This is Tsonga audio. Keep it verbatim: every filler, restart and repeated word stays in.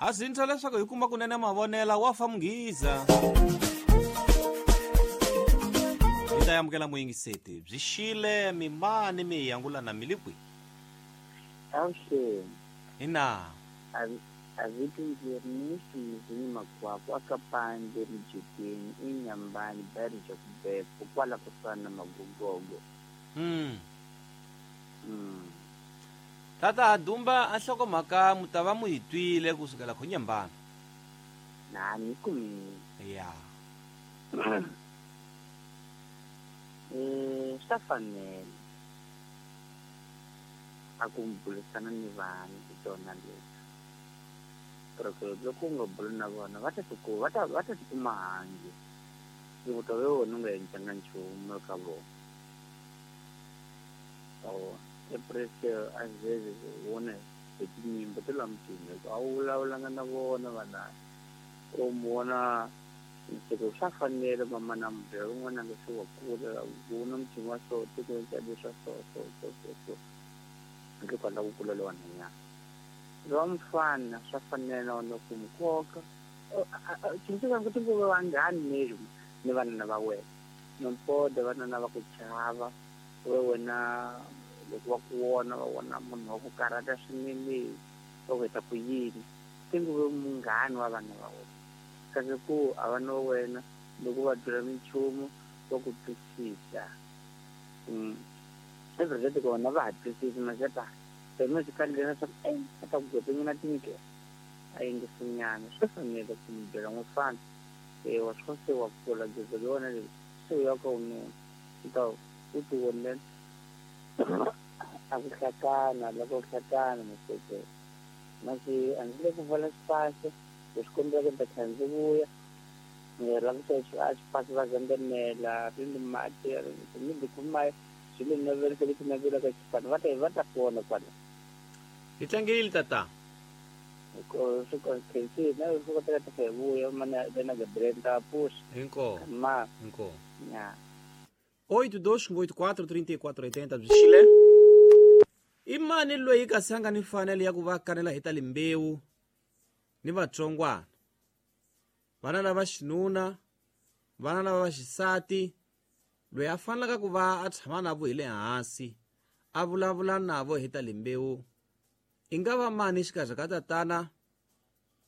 A swi leswaku hi kuma kunene mavonela wa fa munghiza. Hi ta amukela muyingiseti byi xile mimani mi yangulana milikwi. Avuxeni. Ina. A vito ndzi Ernest Muzini Makwakwa aka Pande Rijekeni eNyambani Barija Kubepo kwala kusuhani na Magogogo. Mm. Mm. Tata Dumba a nhlokomhaka mu ta va mu yi twile kusukela khonyambana. Na ni kumile. Ya. Eh, swa fanele a ku burisana ni vanhu hi tona leti. Porque loko u nga buli na vona va ta tiku va ta va ta tikuma handle. Loko ta ve wena u nga endlanga nchumu eka vona. Oh, e às vezes wona hi tinyimba ta la mutini a wu vulavulanga na vona vana. U vona nsiko swa fanele mama na mubyela un'wana a nga se wa kula u na mutini wa so tikweni ka leswa so so so so so handle ko lava ku kula lowa nhwanyana. Lowa mufana swa fanele na wona ku mu koka tsundzuka ku tinguva vanghani ni ni vanana va wena nompoda vanana va ku chava we wena loko va ku vona va vona munhu wa ku karhata swinene va ku heta ku yini tinguve munghani wa vana va wena kasi ku a va na wena loko va byela minchumu va ku twisisa. Every kona va ha twisisi mazeta se khale leswaku e a ta ku gwetenyana tindlela a yingisinyana swi fanele ku mi byela n'wifana e wa swi se wa kula gezo le wona leyi se u ya ka wununa u ta u ti vonela a ku hlakana loko ku hlakana maseke masi a ndzi le ku pfala xipasi leswi kombelaka ni ta tlhela ndzi vuya la ku a xipasi va zandamela ri ni mati mi dikuma swi le navelisa leswi navelaka xipano va ta va ta pona kwala. Hi tlangile tata. Ko swi khensi na swi kotaka ta hi vuya mana na Gabriel ta puxa. Hinko. Ma. Hinko. Ya. oito dois oito quatro trinta e quatro oitenta byi xile. I mani loyi kasi a nga ni mfanelo ya ku va kanela hi ta limbewu ni vatsongwana? Vana lava xinuna, vana lava va xisati, loyi a fanelaka ku va a tshama na vo hi le hansi a vulavula na vo hi ta limbewu i nga va mani xikarhi ka tatana